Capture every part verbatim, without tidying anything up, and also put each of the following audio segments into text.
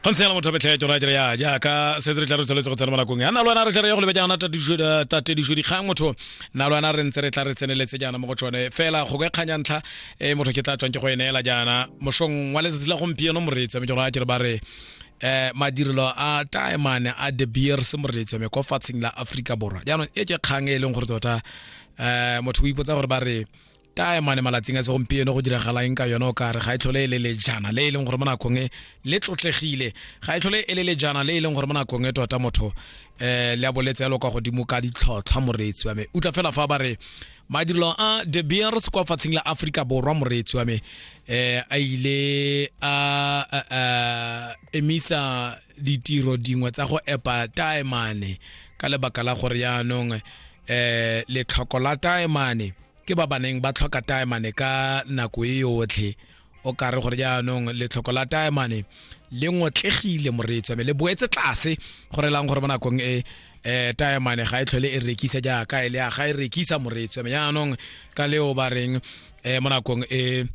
Go ntse jalo, motho betlhe tsona dire ya jaaka setse re tla re tsweletse go tsena mo nakong ya nna le wena, re tla re ya go lebe jaana tatedišo dikgang. Motho nna le wena re ntse re tla re tseneletse jaana mo go tsone fela go ka kganya ntlha e motho ke tla tswang ke go e neela jaana mošong wa letsatsi la gompieno, moreetsi wa me. Ke gore a kere ba re eh madirelo a taemane a De Beers, moreetsi wa me, kwa fatsheng la Aforika Borwa. Jaanong e ke kgang e e leng gore tota um motho o ipotsa gore ba re taemane malatsing a segompieno go diragala eng ka yone. O kare ga e tlhole e le lejana le e leng gore mo nakong e le tlotlegile, ga e tlhole e le lejana le e leng gore mo nakong e tota motho um le a boletse yalo kwa godimo ka ditlhotlhwa. Moreetsi wa me, utlwa fela fa ba re madirelo a De Beers kwa fatsheng la Aforika Borwa, moreetsi wa me, um a ile a emisa ditiro dingwe tsa go epa taemane ka lebaka la gore yaanong um letlhoko la taemane ke ba baneng ba tlhoka taemane ka nako e yotlhe. O kare gore jaanong letlhoko la taemane le ngotlegile, moreetsi wa me, le boetse tlase, gore lang gore mo nakong e um taemane ga e tlhole e rekisa jaaka e le ga e rekisa, moreetsi wa me. Jaanong ka leo ba reng um mo nakong e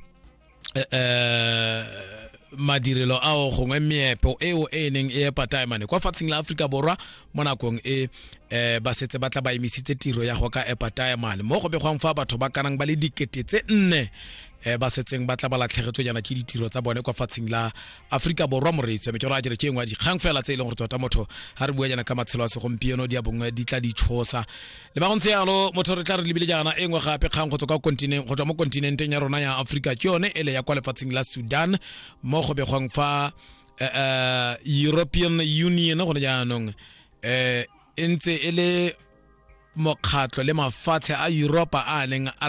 um madirelo ao gongwe meepo eo e neng e epa taemane kwa fatsheng la Aforika Borwa mo nakong e um ba setse ba tla ba emisitse tiro ya go ka epa taemane, mo go begwang fa batho ba kanang ba le dikete tse nne um ba setseng ba tla ba latlhegetswe jaana ke ditiro tsa bone kwa fatsheng la Aforika Borwa. Moreetsi wa me, ke gore a kere ke engwe ya dikgang fela tse e leng gore tota motho ga re bua jaana ka matshelo a segompieno di a bongwe di tla di tshosa. Le ba go ntse yalo, motho re tla re lebile jaana e nngwe gape kgang go tswa kwa kontinent, go tswa mo kontinenteng ya rona ya Aforika, ke yone ele ya kwa lefatsheng la Sudan, mo go begwang fa uh, European Union gone jaanong um e ntse e le mokgatlho le mafatshe a Europa a neng a